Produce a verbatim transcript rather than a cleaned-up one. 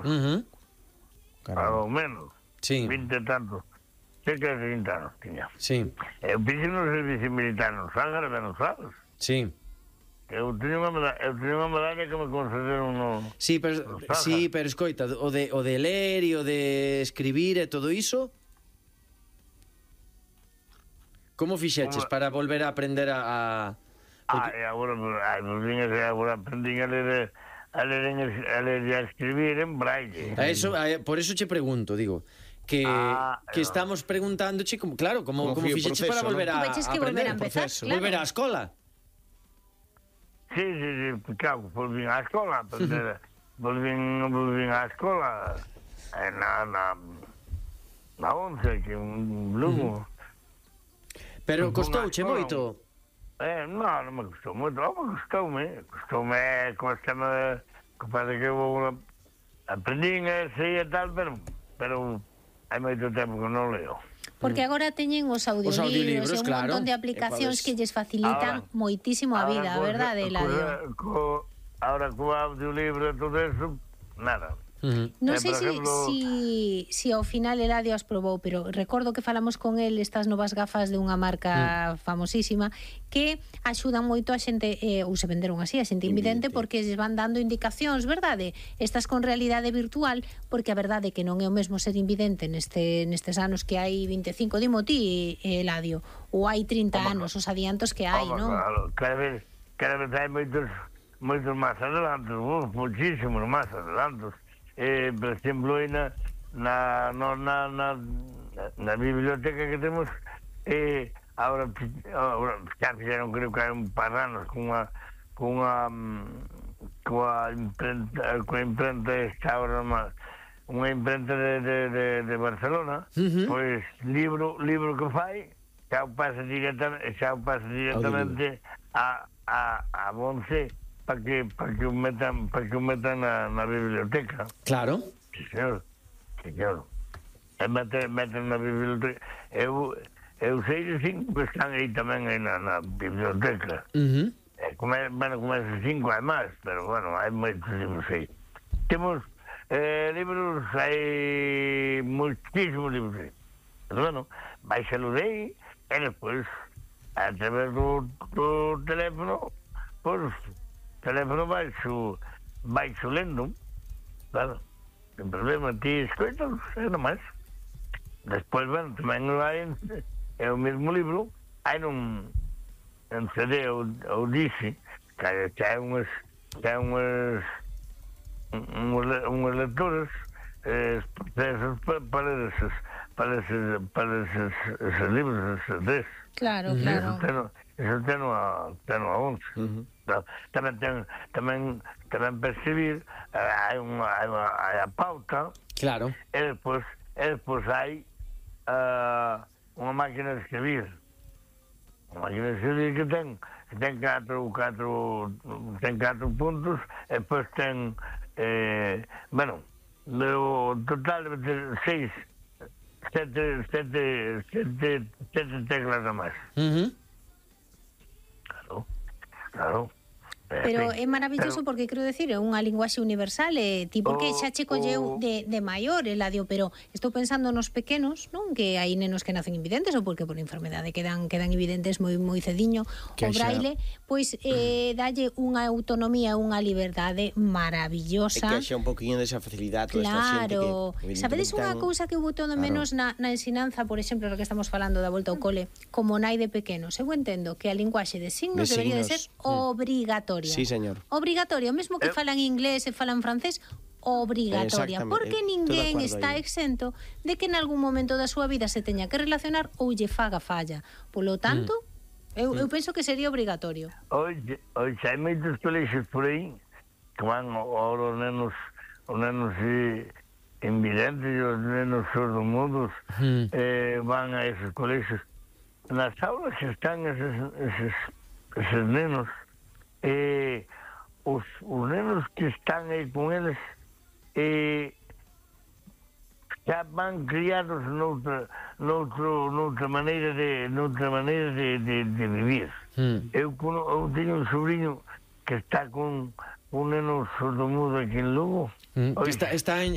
Uh -huh. Ao menos. Sí. vinte e tantos. Cerca de trinta anos tiña. Sí. Eu fixe no servicio militar no Sángara, non sabes? Sí. Eu teño unha medalla, eu teño unha medalla que me concederon no... Sí, pero, no sí, pero escoita, o de, o de ler e o de escribir e todo iso, como fixeches Como... para volver a aprender a... a... Porque... Ah, e agora, ai, pues, agora aprendín a ler, a ler, en, a ler e a escribir en braille. A eso, a, por eso che pregunto, digo, que, ah, que no. estamos preguntándoche, como, claro, como, como, como fixeches para volver ¿no? a, a aprender. volver a empezar, claro. Volver á escola. Sí, sí, sí, claro, volvín á escola, aprender, volvín, volvín á escola, na, na, na once, que un Lugo. Pero costouche moito? Eh, non, non me costou moito, non me costoume, costoume, costoume, que parece que eu aprendín e sei e tal, pero, pero hai moito tempo que non leo. Porque agora teñen os audiolibros, os audiolibros e un claro, montón de aplicacións que lles facilitan ahora, moitísimo a vida, a verdade, Eladio? Co, ahora co audiolibro e todo eso, nada. Uh -huh. Non sei se ejemplo... si, si ao final Eladio as probou, pero recordo que falamos con el estas novas gafas de unha marca uh -huh. famosísima que axudan moito a xente, eh, ou se venderon así, a xente invidente, porque lles van dando indicacións, verdade? Estas con realidade virtual, porque a verdade é que non é o mesmo ser invidente neste, nestes anos que hai vinte e cinco, dimo ti, Eladio, ou hai trinta Oma, anos, os adiantos que hai, non? Claro, cada vez, cada vez hai moitos, moitos máis adelantos, muchísimos máis adelantos. Eh, por exemplo, na, na, na, na, na biblioteca que temos, eh, ahora, ahora xa fixeron, creo que hai un par de anos, con unha, con unha, con a imprenta, con a imprenta esta ahora, unha imprenta de, de, de, de Barcelona, uh -huh. pois, libro, libro que fai, xa o pasa directamente, xa o pasa directamente a, a, a Bonce, para que para que o metan para que o metan na, na biblioteca. Claro. Sí, señor. Sí, señor. E meten, meten na biblioteca. Eu, eu sei de cinco que están aí tamén aí na, na biblioteca. Uh -huh. E come, bueno, como esos cinco hai máis, pero bueno, hai moitos libros aí. Temos eh, libros, hai muchísimos libros aí. Pero bueno, baixalo de aí e despois, a través do, do teléfono, pois, o teléfono vai su, vai su lendo, claro, sin problema, ti escoitas, é nomás. Despois, bueno, tamén hai, é o mesmo libro, hai nun, en C D ou, ou dice, que hai unhas, que hai unhas, unhas, unhas lecturas, eh, esos, para esos, para esos, para esos, esos libros, esos dez. Claro, claro. Eso teno, eso teno a, teno a once. Uh -huh. Tamén ten, tamén tamén para escribir, hai unha, hai unha hai a pauta. Claro. E despois, e despois hai uh, unha máquina de escribir. Unha máquina de escribir que ten que ten catro, catro, ten catro puntos, e despois ten eh, bueno, o total de seis, sete, sete, sete, sete teclas a máis. Uh -huh. Claro, claro. Pero é maravilloso porque, quero decir, é unha linguaxe universal e ti porque xa che colleu de, de maior, Eladio, pero estou pensando nos pequenos, non? Que hai nenos que nacen invidentes ou porque por enfermedade quedan quedan invidentes moi moi cediño, o braille, pois eh, dalle unha autonomía, unha liberdade maravillosa. E que xa un poquinho desa facilidade toda esta xente que... Sabedes unha cousa que eu boto de menos na, na ensinanza, por exemplo, lo que estamos falando da volta ao cole, como nai de pequenos, eu entendo que a linguaxe de signos de debería signos. de ser obrigatoria. Sí, señor. Obrigatoria, mesmo que eh, falan inglés e falan francés, obrigatoria, porque ninguén está aí. exento de que en algún momento da súa vida se teña que relacionar ou lle faga falla. Polo tanto, mm. eu, eu penso que sería obrigatorio. Oye, oye, hai moitos colexios por aí que van ahora os nenos, os nenos eh, invidentes e os nenos sordomudos mm. eh, van a esos colexios. Nas aulas que están esos, esos, esos nenos, Eh, os, os nenos que están aí con eles eh, xa van criados noutra, noutro, noutra maneira de noutra maneira de, de, de vivir. Mm. Eu, eu teño un sobrinho que está con un neno sordomudo aquí en Lugo. Mm. Está, está en,